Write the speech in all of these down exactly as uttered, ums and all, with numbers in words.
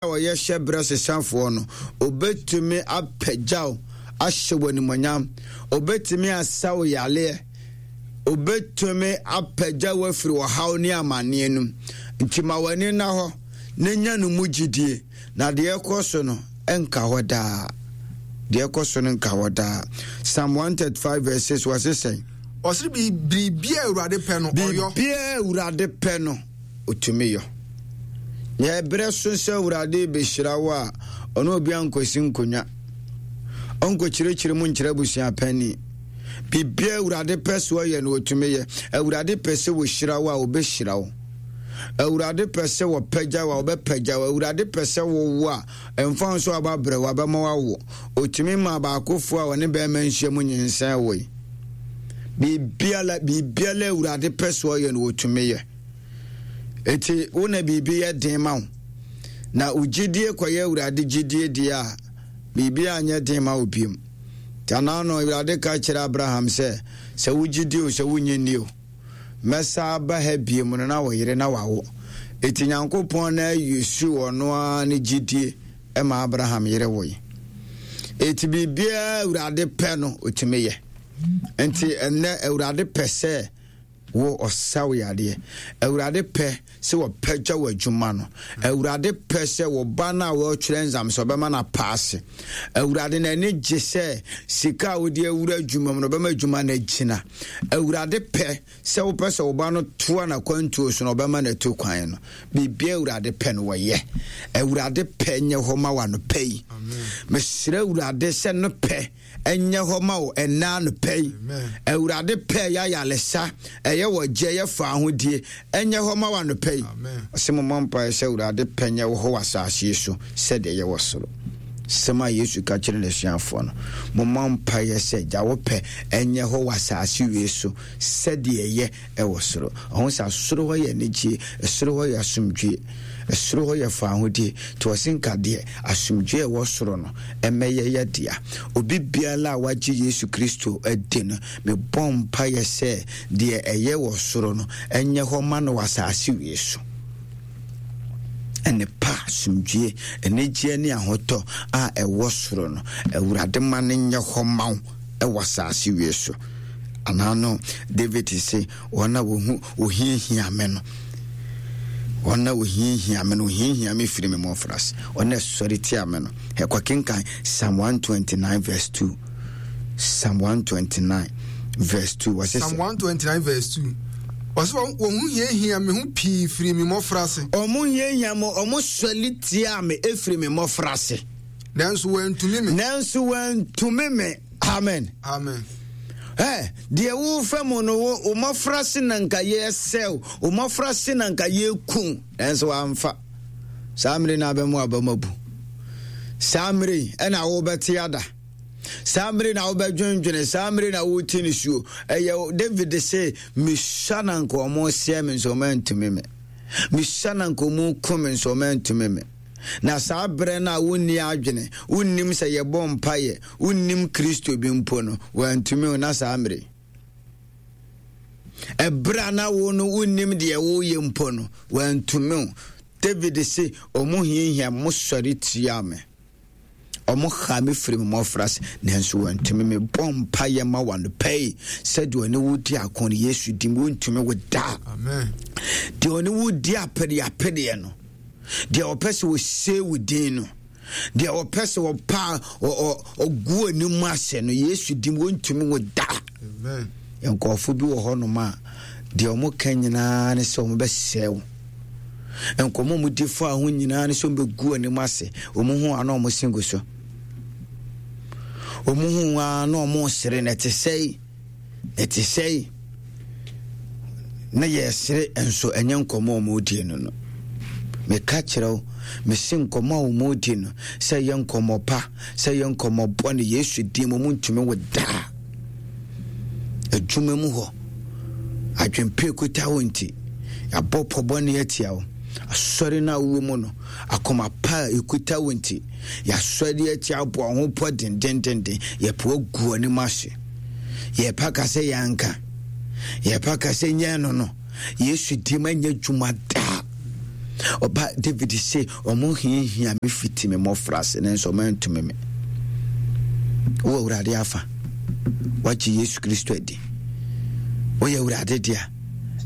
A ɔyɛ hyɛbrɛ sesafoɔ no, ɔbɛtumi apagya wo ahyɛ wo animuonyam, ɔbɛtumi asa wo yareɛ, ɔbɛtumi apagya wo afiri ɔhaw ne amanneɛ no mu. Nti ma w'ani nna hɔ na nya no mu gyidie, na deɛ ɛkɔ so no nka hɔ daa. Deɛ ɛkɔ so no nka hɔ daa. Psalm one thirty-five verse six, wɔse sɛn? Ɔsere biribiara Awurade pɛ no ɔyɔ. Biribiara Awurade pɛ no ɔtumi yɔ. Yɛ berɛ so sɛ Awurade bɛhyira wo a, ɔne obi ankɔsi nkonnwa, ɔnkɔkyerɛkyerɛ mu nkyerɛ abusua panni. Biribiara Awurade pɛ sɛ ɔyɛ no, ɔtumi yɛ. Awurade pɛ sɛ wɔhyira wo a, ɔbɛhyira wo. Awurade pɛ sɛ wɔpagya wo a, wɔbɛpagya wo. Awurade pɛ sɛ wowo a, ɛmfa ho sɛ waba brɛ wo, abɛma wawo. Ɔtumi ma baakofoɔ a wɔne bɛrima nhyia mu nyinsɛn woe. Biribiara, biribiara Awurade pɛ sɛ ɔyɛ no, ɔtumi yɛ. Eti wo na biribi yɛ den ma wo, na wo gyidie kɔyɛ Awurade gyidie deɛ a, biribi anyɛ den ma wo biom. Nti anaa no Awurade ka kyerɛ Abraham sɛ, sɛ wo gyidie o, sɛ wonnye nni o, mɛsa aba ha biom no na wo yere na wawo. Eti Nyankopɔn na ayusu ɔno ara ne gyidie ma Abraham yere woe. Eti biribiara Awurade pɛ no, ɔtumi yɛ. Nti ɛnnɛ Awurade pɛ sɛ wo ɔsa wo yadeɛ. Awurade pɛ sɛ wɔpɛgya wɔ adwuma no. Awurade pɛ sɛ wo ba no a wɔretwerɛ nzam sɛ ɔbɛma no apaase. Awurade n'ani gye sɛ sika a wode awura adwuma mu no, ɔbɛma adwuma no agyina. Awurade pɛ sɛ wopɛ sɛ wo ba no toa n'akwantuo so no, ɔbɛma no atu kwan no. Biribia Awurade pɛ no, wɔyɛ. Awurade pɛ nyɛ hɔ ma w'anɔpa yi. Mesrɛ Awurade sɛ no pɛ ɛnyɛ hɔ ma wo ɛnna anɔpa yi. Awurade pɛ yɛ ayaresa, ɛyɛ wɔgye, ɛyɛ fa ahodie, ɛnyɛ hɔ ma wo anɔpa yi. Ɔsɛ mommɔ mpaeɛ sɛ Awurade pɛ nyɛ wɔ hɔ wɔ asase yi so sɛdeɛ ɛyɛ wɔ soro. Sɛm a Yesu ka kyerɛ n'asuafoɔ no, mommɔ mpaeɛ sɛ gya wo pɛ ɛnyɛ hɔ wɔ asase wei so sɛdeɛ ɛyɛ ɛwɔ soro. Ɔho sɛ soro hɔ yɛ anigye, soro hɔ yɛ asomdwie, soro hɔ yɛ faahodie. Nti ɔse nka deɛ asomdwie a ɛwɔ soro no ɛmɛyɛ yɛ dea. Obi biara a wagye Yesu Kristo adi no, mebɔ mpaeɛ sɛ deɛ ɛyɛ wɔ soro no ɛnyɛ hɔ ma no wɔ asase wei so. Ɛne pa, asomdwie, anigyeɛ ne ahotɔ a ɛwɔ soro no, Awurade ma no nyɛ hɔ ma wo ɛwɔ asase wei so. Anaa no David se, wɔn a wɔhu wɔhiahia me no, wɔn a wɔhiahia me no, wɔhiahia me firi me mmɔfraase, wɔn a ɛsɔre tia me no. Ɛkɔ kenkan Psalm one twenty-nine verse two. Psalm one twenty-nine verse two, wɔse Psalm one twenty-nine verse two, ɔsɛ wɔn wɔn ho hiahia me ho pii firi me mmɔfraase. Ɔmo hiahia mo, ɔmo sɔre tia me efiri me mmɔfraase. Nanso wɔantumi me. Nanso wɔantumi me. Amen. Amen. Ɛ deɛ wofa mu no, wo wo mmɔfraase na nka yɛsɛw, wo mmɔfraase na nka yɛku, nanso wamfa. Saa mmere na abɛmu abɛmu abu. Saa mmere yi ɛna wobɛte ada. Saa mmere na wobɛdwendwene. Saa mmere na wote ne suo. Ɛyɛ David se, mesua na nka ɔmo sɛ me nso ɔmo antumi me, mesua na nka ɔmo ku me nso ɔmo antumi me. Na saa berɛ no a wonni adwene, wonnim sɛ yɛbɔ mpayɛ, wonnim Kristo bi mpo no, wantumi wo. Na saa mmere ɛberɛ a na wo no wonnim deɛ woyɛ mpo no, wantumi wo. David se, ɔmo hiahia mo, sɔre tia me, ɔmo ha me firi me mmɔfraase, nanso wantumi me. Bɔ mpayɛ ma wanopɛ yi sɛdeɛ ɔne wo di ako no, Yesu dim wontumi wo daa. Amen. Deɛ ɔne wo di apedeapedeɛ no, deɛ ɔpɛ sɛ ɔsee wo din no, deɛ ɔpɛ sɛ ɔpa ɔgu anim ase no, Yesu dim wɔntumi wo da. Amen. Nkurɔfo bi wɔ hɔnom a deɛ ɔmo ka nyinaa ne sɛ ɔmo bɛsɛe wo. Nkɔmmɔ ɔmo di fa ho nyinaa ne sɛ ɔmo bɛgu anim ase. Ɔmo ho a na ɔmo se gu so, ɔmo ho a na ɔmo sere na ɛte sɛe, ɛte sɛe na yɛsere, nso ɛnyɛ nkɔmmɔ a ɔmo die no no Meka kyerɛ wo, mese nkɔmmɔ a ɔmo di no, sɛ ɛyɛ nkɔmmɔ pa, sɛ ɛyɛ nkɔmmɔ bɔne, Yesu din mu ɔmo ntumi wo daa. Adwuma mu hɔ adwempe kuta wo nti yɛabɔ pɔ bɔne atia wo. Asɔre no a wowɔ mu no, akoma pa a ɛkuta wo nti yɛasɔre atia, abɔ ho pɔ dendendenden, yɛpɛ agu anim ase, yɛpa ka sɛ yɛanka, yɛpa ka sɛ nyɛ no no, Yesu dim anyɛ adwuma daa. Ɔba David se, ɔmo hiahia me fiti me mmɔfraase, nanso ɔmo antumi me. Wowɔ Awurade afa. Wagye Yesu Kristo adi. Woyɛ Awurade dea.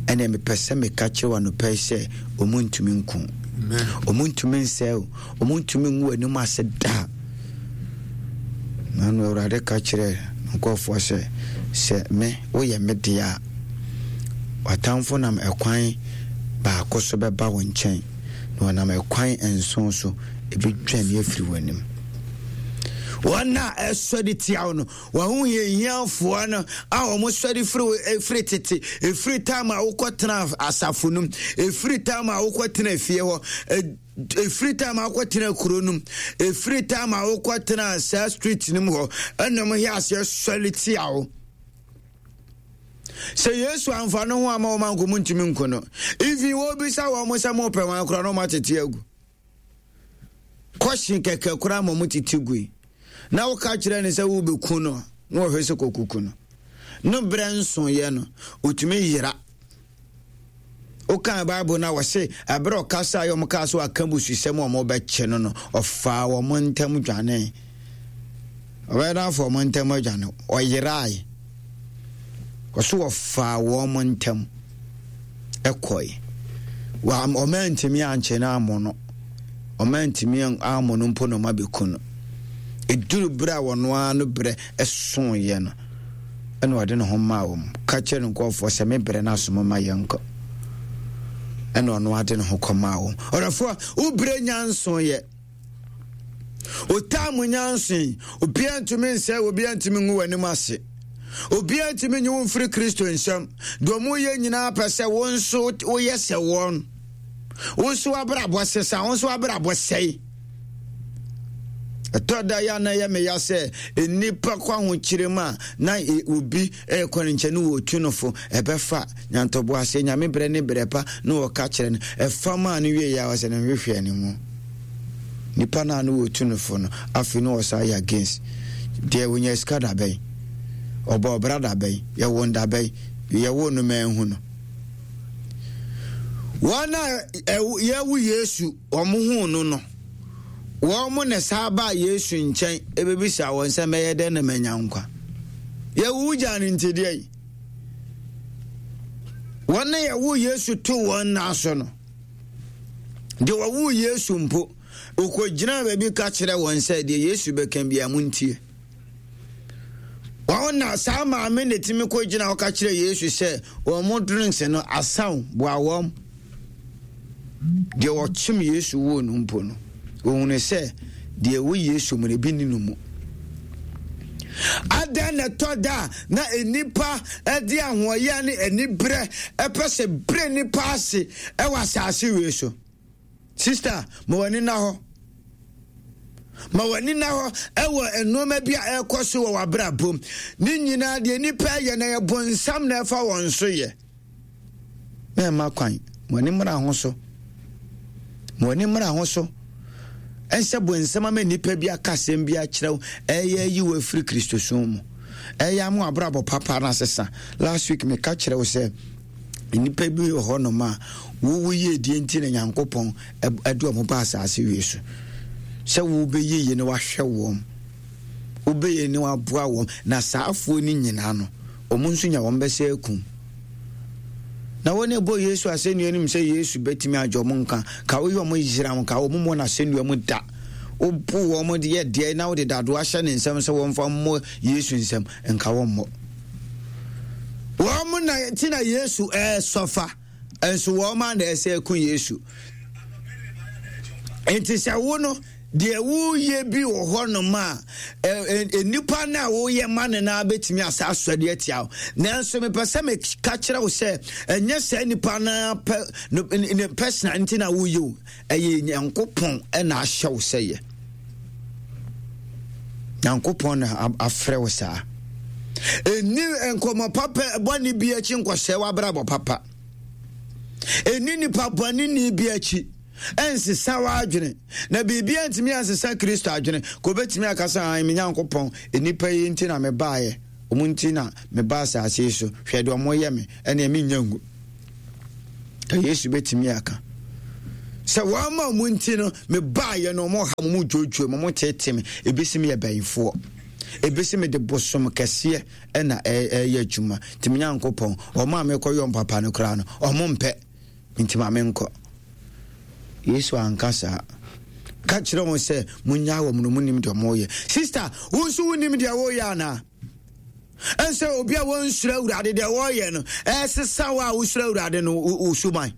Ɛnna mepɛ sɛ meka kyerɛ wo anɔpa yi sɛ ɔmo ntumi nko. Ɔmo ntumi nsɛe wo. Ɔmo ntumi ngu w'anim ase da. Na no Awurade ka kyerɛ nkurɔfoɔ sɛ, sɛ me woyɛ me deɛ a, w'atamfo nam ɛkwan baako so bɛba wo nkyɛn, na wɔnam ɛkwan nson so ɛbɛdwane afiri w'anim. Wɔn a ɛsɔre tia wo no, w'ahohiahiafoɔ no a wɔsɔre firi firi tete, ɛfiri tam a wokɔtena asafo no mu, ɛfiri tam a wokɔtena fie hɔ, ɛfiri tam a wokɔtena kuro no mu, ɛfiri tam a wokɔtena saa street no mu hɔ, ɛna wɔn hɛ aseɛ sɔre tia wo. Sɛ Yesu amfa no ho ama wɔn anko mu ntumi nko no. Even wɔbisa wɔn sɛ mopɛ wɔn akora na wɔn atete agu. Kɔhye kɛkɛ koraa ma wɔn tete gui. Na woka kyerɛ no sɛ wobɛku no na wɔhwɛ sɛ kɔkuku no. No berɛ nsoeɛ no, ɔtumi yera. Wokan Bible no a wɔse ɛberɛ ɔkasa yɛ wɔn kaa so aka bususɛm a wɔbɛkye no no, ɔfaa wɔn ntam dwanee. Ɔbɛyɛ dɛ afa wɔn ntam adwane. Ɔyerae. Ɔso wɔfaa wɔn ntam kɔe. Wɔn antumi ankye no ammɔ no. Wɔn antumi ammɔ no mpo na wɔn abɛku no. Ɛduru berɛ a wɔn ara no berɛ soeɛ no, ɛna ɔde ne ho maa wɔn. Ka kyerɛ ne nkurɔfoɔ sɛ me berɛ no aso moma yɛnkɔ. Ɛna ɔno ade ne ho kɔmaa wɔn. Ɔdɔfoɔ, wo berɛ nya nsoeɛ. Otaa mu nyansa yi, obiara ntumi nsɛe, obiara ntumi ngu w'anim ase. Obiara ntumi nyi wo mfiri Kristo nsam. Deɛ wɔyɛ nyinaa pɛ sɛ wo nso woyɛ sɛ wɔn. Wo nso w'abrabɔ sesa, wo nso w'abrabɔ sɛe. Ɛtɔ da yɛ na ɛyɛ meya sɛ nnipa kɔ ahokyere mu a na obi ɛrekɔ ne nkyɛn ne wɔtu no fo ɛbɛfa Nyantɔboa sɛ Nyame brɛ ne brɛ pa na ɔka kyerɛ no, ɛfa maa no wie yɛ a ɔsɛ no nhwehwɛ ne mu. Nipa no a na wɔtu no fo no, afei na ɔsan yɛ against. Deɛ ɔnya sika da bɛn? Ɔbɔ ɔbra da bɛn? Yɛwo no da bɛn? Yɛwo no manhu no. Wɔn a yɛwo Yesu, wɔn huu no no, wɔn na saa baa Yesu nkyɛn ɛbɛbisa wɔn sɛ mɛyɛ dɛn na manya nkwa. Yɛwo wo gyaa no nti deɛ yi. Wɔn a yɛwoo Yesu too wɔn nan so no, deɛ wɔwoo Yesu mpo, ɔkɔgyinaa baabi ka kyerɛ wɔn sɛ deɛ Yesu bɛka biara montie. Wɔn na saa maame na ɛtumi kɔgyina hɔ ka kyerɛ Yesu sɛ wɔn mo drinks no asaw boa wɔn. Deɛ wɔkyem Yesu woo no mpo no, wɔhunu sɛ deɛ ɛwɔ Yesu mu no ebi nni no mu. Adɛn na ɛtɔ da a na nnipa de ahoɔyɛ ne aniberɛ ɛpɛ sɛ berɛ nnipa ase ɛwɔ asase wei so? Sista, ma w'ani nna hɔ. Ma w'ani nna hɔ ɛwɔ nneɛma bi a ɛrekɔ so wɔ w'abrabɔ mu. Ne nyinaa deɛ nnipa yɛ na yɛ bonsam na ɛfa wɔn so yɛ. Mɛmma kwan. Mo ani mmra ho so. Mo ani mmra ho so. Ɛnsɛ bonsam ama nnipa bi aka asɛm bi akyerɛ wo. Ɛyɛ ayi wo afiri Kristosom mu. Ɛyɛ ama w'abrabɔ papa no asesa. Last week meka kyerɛ wo sɛ nnipa bi wɔ hɔnom a wowo yiedie nti na Nyankopɔn ɛde wɔn ba asase wie so. Sɛ wobɛyɛ yie na wahwɛ wɔn. Wobɛyɛ ne waboa wɔn. Na saa afoɔ no nyinaa no, wɔn nso nya wɔn bɛsɛ akum. Na wɔn ɛbɔ Yesu asɛnnua no mu sɛ Yesu bɛtumi agye wɔn nka. Ka woyɛ wɔn yera wɔn, ka wɔn mmɔ no asɛnnua mu da. Wobu wɔn de yɛ deɛ na wode dadoa ahyɛ ne nsam sɛ wɔmfa mmɔ Yesu nsam, nka wɔn mmɔ. Wɔn na ti na Yesu ɛresɔfa, nso wɔn a na ɛsɛ ɛko Yesu. Nti sɛ wo no deɛ woyɛ bi wɔ hɔnom a nnipa no a woyɛ ma no no bɛtumi asa asɔre atia wo. Nanso mepɛ sɛ meka kyerɛ wo sɛ ɛnyɛ saa nnipa no pɛ ne personal nti na woyɛ o, ɛyɛ Nyankopɔn na ahyɛ wo sɛ yɛ. Nyankopɔn na afrɛ wo saa. Ɛnni nkɔmmɔ papa bɔne bi akyi nkɔsɛe w'abrabɔ papa. Ɛnni nipa bɔne ni bi akyi ɛnsesa w'adwene, na biribi antumi ansesa Kristo adwene. Ka obɛtumi aka sɛ, ae, me Nyankopɔn, nnipa yi nti na mebaeɛ, ɔmo nti na meba asase yi so, hwɛ deɛ ɔmo yɛ me, ɛneɛ mennya ngu. Ka Yesu bɛtumi aka. Sɛ wɔama mo nti no mebaeɛ no ɔmo ha mo mo dwoodwoo mo mo tete me ebisi me yɛ bɛyifoɔ ebisi me de bosom kɛseɛ ɛna ɛyɛ adwuma nti me Nyankopɔn ɔmo a mekɔ yɔ mpapa no koraa no ɔmo mpɛ nti ma menkɔ. Yesu anka saa. Ka kyerɛ wɔn sɛ monyaa wɔn no monim deɛ moyɛ. Sister, wo nso wonim deɛ woyɛ anaa? Ɛnsɛ obi a wɔnsuro Awurade deɛ wɔyɛ no ɛsesa wo a wosuro Awurade no wo suban.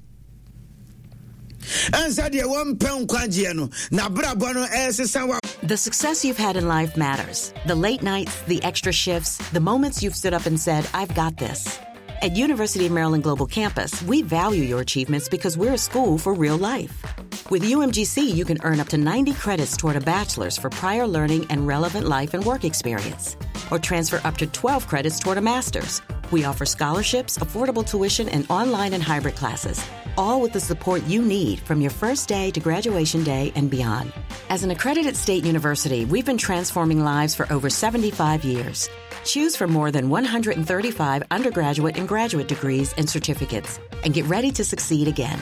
Ɛnsɛ deɛ wɔmpɛ nkwagyeɛ no n'abrabɔ no ɛsesa wo. The success you've had in life matters. The late nights, the extra shifts, the moments you've stood up and said, I've got this. At University of Maryland Global Campus, we value your achievements because we're a school for real life. With U M G C, you can earn up to ninety credits toward a bachelor's for prior learning and relevant life and work experience, or transfer up to twelve credits toward a master's. We offer scholarships, affordable tuition, and online and hybrid classes, all with the support you need from your first day to graduation day and beyond. As an accredited state university, we've been transforming lives for over seventy-five years. Choose from more than one hundred thirty-five undergraduate and graduate degrees and certificates, and get ready to succeed again.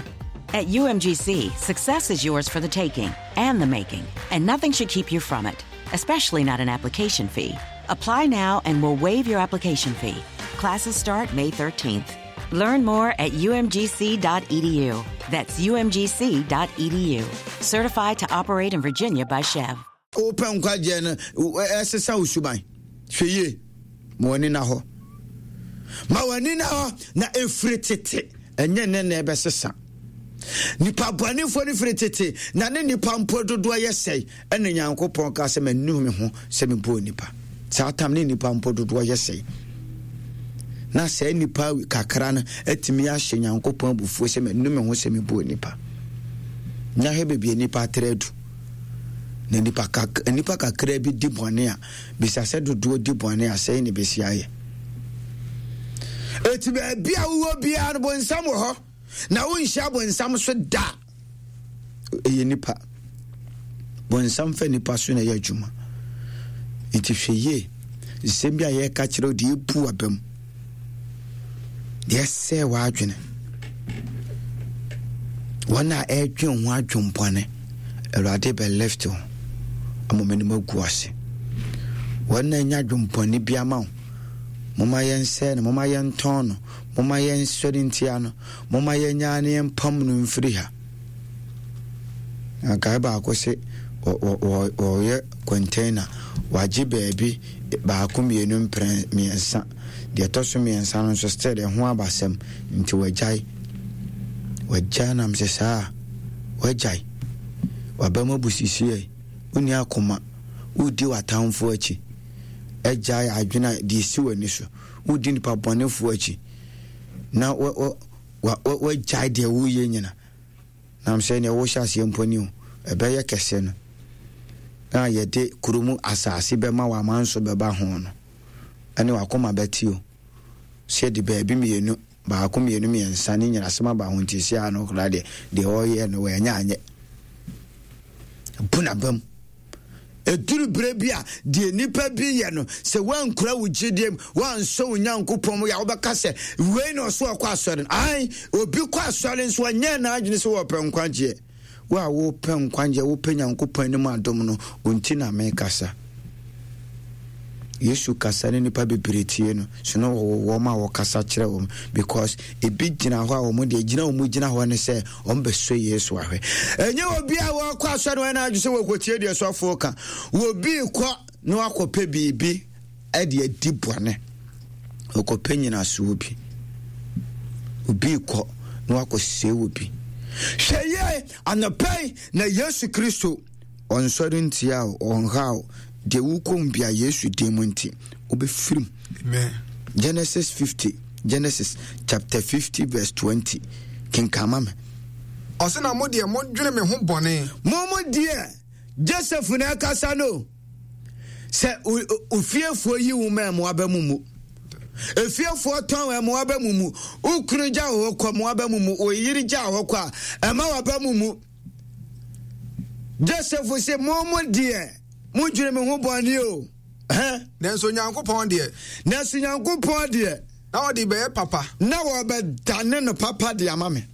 At U M G C, success is yours for the taking and the making, and nothing should keep you from it, especially not an application fee. Apply now and we'll waive your application fee. Classes start May thirteenth. Learn more at U M G C dot E D U. That's U M G C dot E D U. Certified to operate in Virginia by C H E V. Open nkwagye no esesa usuban. Hwɛ yie. Ma w'ani na hɔ. Ma w'ani na hɔ na efiri tete. Ɛnyɛ ne na ɛbɛsesa. Nipa bɔnefoɔ no firi tete na ne nipa mpo dodoɔ yɛ sɛe. Ɛna Nyankopɔn ka sɛ m'ani me ho sɛ mebɔɔ nipa. Saa tam ne nipa mpo dodoɔ yɛ sɛe. Na sɛ nipa kakra no atumi ahyɛ Nyankopɔn abufuo sɛ m'ani me ho sɛ mebɔɔ nipa. Na hwɛ baabi a nipa atrɛ adu. Na nipa kak-, nipa kakra bi di bɔne a, bisa sɛ dodoɔ di bɔne a, sɛe ne bɛsi ayɛ. Eti baabi a wowɔ biara no, bonsam wɔ hɔ. Na wonhyia bonsam so da. Ɛyɛ nipa. Bonsam fa nipa so na ɛyɛ adwuma. Nti hwɛ yie. Nsɛm bi a yɛreka kyerɛ wo deɛ ebu aba mu. Deɛ ɛsɛe w'adwene. Wɔn a ɛredwen ho adwempɔne, Awurade bɛ lift wo. Ama wɔn anim agu ase. Wɔn a anya adwempɔne bi ama wo, momma yɛnsɛe no, momma yɛntɔn no, momma yɛnsɔre ntia no, momma yɛnyaa ne yɛmpam no mfiri ha. Na guy baako se, wɔ-, wɔ-, wɔ-, wɔyɛ container, wagye baabi baako mmienu mprɛ mmiɛnsa. Deɛ ɛtɔ so mmiɛnsa no nso still ɛho abasɛm nti wagyae. Wagyae nam sɛ saa, wagyae. Waba mu abusisie, wonni akoma, wodi w'atamfoɔ akyi. Agyae adwene a deɛ esi w'ani so, wodi nipa bɔnefoɔ akyi. Na wa-, wa-, wa-, wa-, wagyae deɛ woyɛ nyina. Nam sɛ nea wohyɛ aseɛ mpo ni o, ɛbɛyɛ kɛse no. Na yɛde kurom asase bɛma w'amanso bɛba ho no, ɛne w'akoma bɛte o. Sɛ yɛde baabi mmienu, baako mmienu mmiɛnsa ne nyina asɛm aba ho nti si ano koraa deɛ, deɛ ɔyɛ no wɔanya anyɛ. Bu n'aba mu. Ɛduru berɛ bi a deɛ nnipa bi yɛ no, sɛ woankura wo gyidie mu, woansɔ wo Nyankopɔn mu yɛ a, wobɛka sɛ wei na ɔso ɔkɔ asɔre no. Ae, obi kɔ asɔre nso ɔnyɛ n'adwene sɛ wɔpɛ nkwagyeɛ. Wo a wopɛ nkwagyeɛ, wopɛ Nyankopɔn anim adom no, ɔnti na mekasa. Yesu kasa ne nnipa bebree tie no, so na wɔwɔ wɔn a wɔkasa kyerɛ wɔn, because ebi gyina hɔ a wɔn deɛ gyina wɔn gyina hɔ ne sɛ wɔn bɛsɔ Yesu ahwɛ. Ɛnyɛ obi a wɔkɔ asɔre wɔn adwene sɛ wɔkɔtie deɛ sɔfoɔ ka. Obi kɔ na wakɔpɛ biribi ɛde adi bɔne, ɔkɔpɛ nyinasoɔ bi. Obi kɔ na wakɔsɛe obi. Hwɛ yie anɔpa yi na Yesu Kristo ɔnsɔre ntia wo, ɔnha wo. Deɛ wokɔ mu bia Yesu din mu nti wobɛfiri mu. Amen. Genesis fifty, Genesis chapter fifty verse twenty. Kenkama me. Ɔse na mo deɛ modwene me ho bɔne. Mo mo deɛ Joseph na ɛkasa no. Sɛ o-, o-, ofiefoɔ yi wo ma mmoa bɛ mu mu. Efiefoɔ tɔn mmoa bɛ mu mu. Wo kunu gya wo hɔ kɔ mmoa bɛ mu mu. Wo yere gya wo hɔ kɔ a, ɛma wa bɛ mu mu. Joseph se mo mo deɛ modwene me ho bɔne o. Hɛ? Nanso Nyankopɔn deɛ. Nanso Nyankopɔn deɛ. Na ɔde bɛyɛ papa. Na wɔbɛdane no papa de ama me.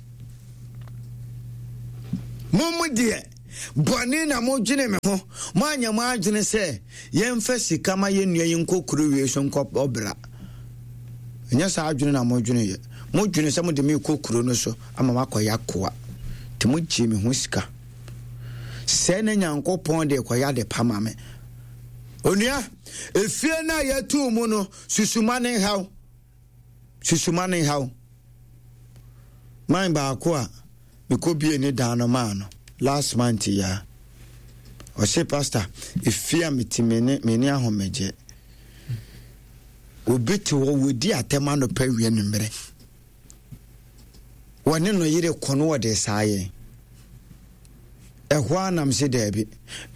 Mo mo deɛ, bɔne na modwene me ho. Moanyɛ mo adwene sɛ yɛmfa sika ma yɛn nua yi nkɔ kuro wei so nkɔ ɔbra. Ɛnyɛ saa adwene na modwene yɛ. Modwene sɛ mode me kɔ kuro no so ama makɔyɛ akoa. Nti mogyee me ho sika. Sɛ na Nyankopɔn de kɔyɛ ade pa ma me. Onua, efie no a yɛtoo mu no, susuma ne nhaw. Susuma ne nhaw. Man baako a mekɔbie ne dan no maa no last month ya. Ɔse pastor, efie a mete me ne me ne ahomegye. Obi te hɔ wɔdi atɛm anɔpa wie no mmerɛ. Wɔne no yere kɔ no wɔde saa yɛn. Ɛhɔ ara nam se daabi,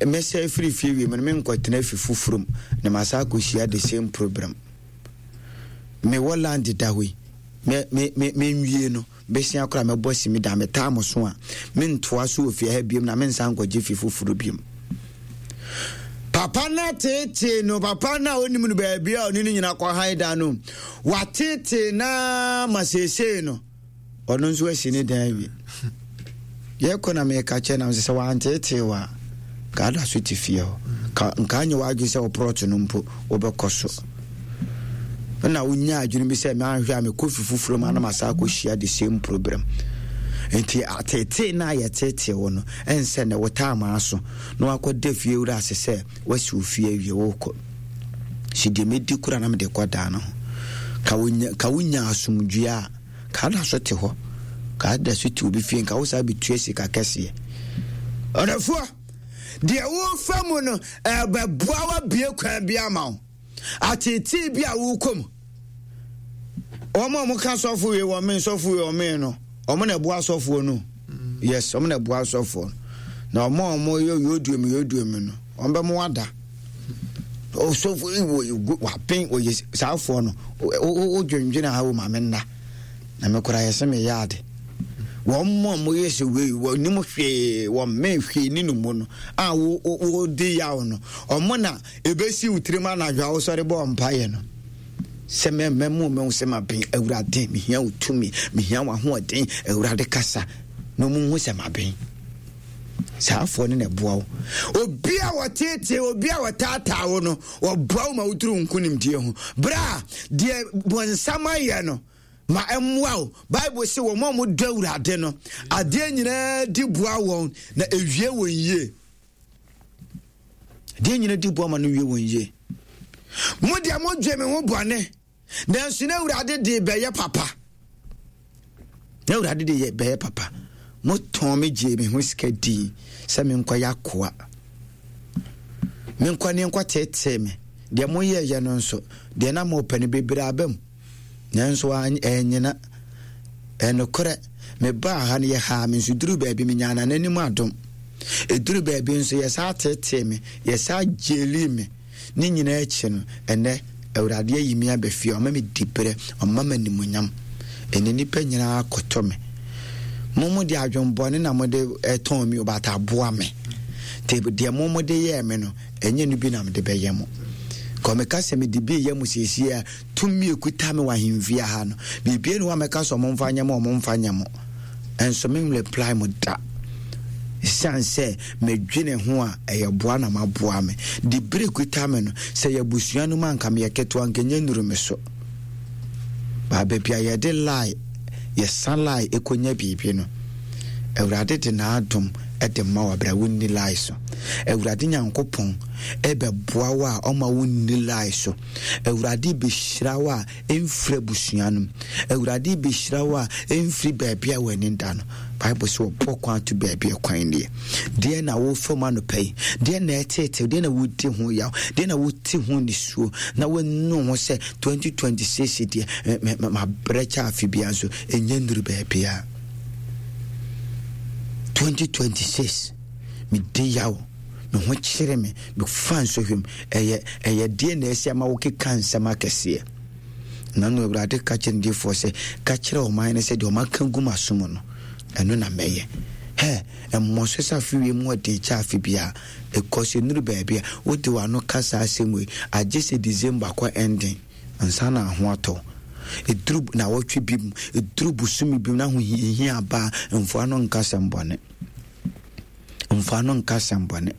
mɛsɛ afiri fie wie mu no menkɔtena fi foforɔ mu na masa akɔhyia the same problem. Mewɔ land da hɔ yi, me me me menwie no besia koraa mɛbɔ si me da metaa mo so a mentoa so wɔ fie ha biom na mensan nkɔgye fi foforɔ biom. Papa no ateetee no, papa no a ɔnim no baabi a ɔne no nyina kɔ han da no, wateetee na ma seesei no ɔno nso asi ne dan awie. Yɛkɔ na meka kyɛ nam sɛ sɛ wanteetee wɔ a nka ada so te fie hɔ, ka nka anyɛ w'adwene sɛ wo no mpo wobɛkɔ so. Na wonya adwene bi sɛ manhwɛ a mekɔ fi foforɔ mu anam asa akɔhyia the same problem. Nti ateetee no a yɛteetee wo no ɛnsɛ ne wo taa maa so na wakɔda fie wura ase sɛ wasi wo fie awie wokɔ. Si deɛ mɛdi kora na mede kɔ daa no ho. Ka wonya ka wonya asomdwoeɛ a ka da so te hɔ, ka da so te obi fie, nka wo saa bɛtua sika kɛseɛ. Ɔdɔfoɔ, deɛ wofa mu no ɛbɛboa wabie kwan bi ama wo. Ateetee bi a wokɔ mu, wɔn a wɔka sɔfo wei wɔ me sɔfo wei wɔ me no, wɔn na ɛboa sɔfoɔ no. Yes, wɔn na ɛboa sɔfoɔ no. Na wɔn a wɔyɛ yodua mu yodua mu no, wɔn bɛ mo ada. Ɔsɔfo yi wɔ wapen wɔyɛ saafoɔ no, wodwendwene ha wɔ maame nna. Na me koraa yɛsɛ meyɛ ade. Wɔn mu a wɔyɛ sɛ wei wɔnim hwee wɔn mmɛn hwee ne no mu no a wɔdi yaw no, wɔn na ebesi wo tirim anadwo a wosɔre bɔ mpaeɛ no sɛ mɛmɛmu mɛhu sɛ maben. Awurade, mehia wo tumi, mehia w'ahoɔden. Awurade kasa na ɔmu hu sɛ maben. Saa afoɔ no na ɛboa wo. Obi a wɔteetee, obi a wɔtaataa wo no, wɔboa wo ma woduru nkonimdie ho. Berɛ a deɛ bɔnsam ayɛ no ma ɛmmoa wo. Bible sɛ wɔn a wɔdɔ Awurade no, adeɛ nyinaa di boa wɔn na ewie wɔn yie. Adeɛ nyinaa di boa ma no wie wɔn yie. Mo deɛ modwe me ho bɔne, nanso na Awurade de bɛyɛ papa. Na Awurade de bɛyɛ papa. Motɔn me gyee me ho sika dii sɛ menkɔyɛ akoa. Menkɔ ne nkɔteetee me. Deɛ moyɛeɛ no nso, deɛ na mopɛ no bebree aba mu. Nanso ɛnyina. Ɛnokorɛ, mebaa ha no yɛhaa me nso duru baabi menyaa n'anim adom. Ɛduru baabi nso yɛsaa teetee me, yɛsaa gyelii me. Ne nyinaa akyi no, ɛnɛ Awurade ayi me aba fie, ɔma me diberɛ, ɔma me animuonyam. Ɛnɛ nnipa nyinaa kɔtɔ me. Mo mo de adwembɔne na mo de ɛtɔn mi, but aboa me. Te deɛ mo mo de yɛɛ me no, ɛnyɛ no bi na mede bɛyɛ mo. Kɔ meka sɛ mede bi yɛ mo siesie a, tumi ekuta me wɔ ahemfie ha no, biribi ne hɔ a mɛka sɛ ɔmo mfa nyɛ mo, ɔmo mfa nyɛ mo. Ɛnso me reply mo da. Esiane sɛ medwene ho a ɛyɛ boa na maboa me. De bere kuta me no, sɛ yɛ abusua no mu anka meyɛ ketewa anka ɛnyɛ nnuru me so. Baa baabi a yɛde lie, yɛsa lie ɛkɔnya biribi no, Awurade de n'adom de ma wo abere a wonni lie so. Awurade Nyankopɔn ɛbɛboa wo a ɔma wonni lie so. Awurade bɛhyira wo a ɛmfiri abusua no mu. Awurade bɛhyira wo a ɛmfiri baabi a w'ani da no. Bible sɛ wɔbɔ kwan to baabi a kwan nie. Deɛ na wofa mu anɔpa yi, deɛ na ɛteetew, deɛ na wodi ho yaw, deɛ na wote ho nisuo, na wanu ho sɛ twenty twenty-six deɛ mabrɛ kyɛ afe biara nso ɛnyɛ nnuru baabiara. twenty twenty-six medi yaw, me ho kyere me, mefa nsɔhwɛ mu. Ɛyɛ ɛyɛ deɛ na ɛsi ama wokeka nsɛm akɛseɛ. Na no Awurade ka kyerɛ ne difoɔ sɛ, ka kyerɛ ɔman no sɛ deɛ ɔma gu m'asom no, ɛno na mɛyɛ. Hɛ, ɛmmɔ so sɛ afe wie mu ɔden kyɛ afe biara. Ɛkɔ so nnuru baabi a wode w'ano ka saa asɛm wei, agye sɛ December kɔ ending ansa na ho atɔ. Ɛduru nawɔtwe bi mu, ɛduru bosome bi mu na ahohiahia aba a, mfoa no nka asɛm bɔne. Mfa no nka asɛmbɔne.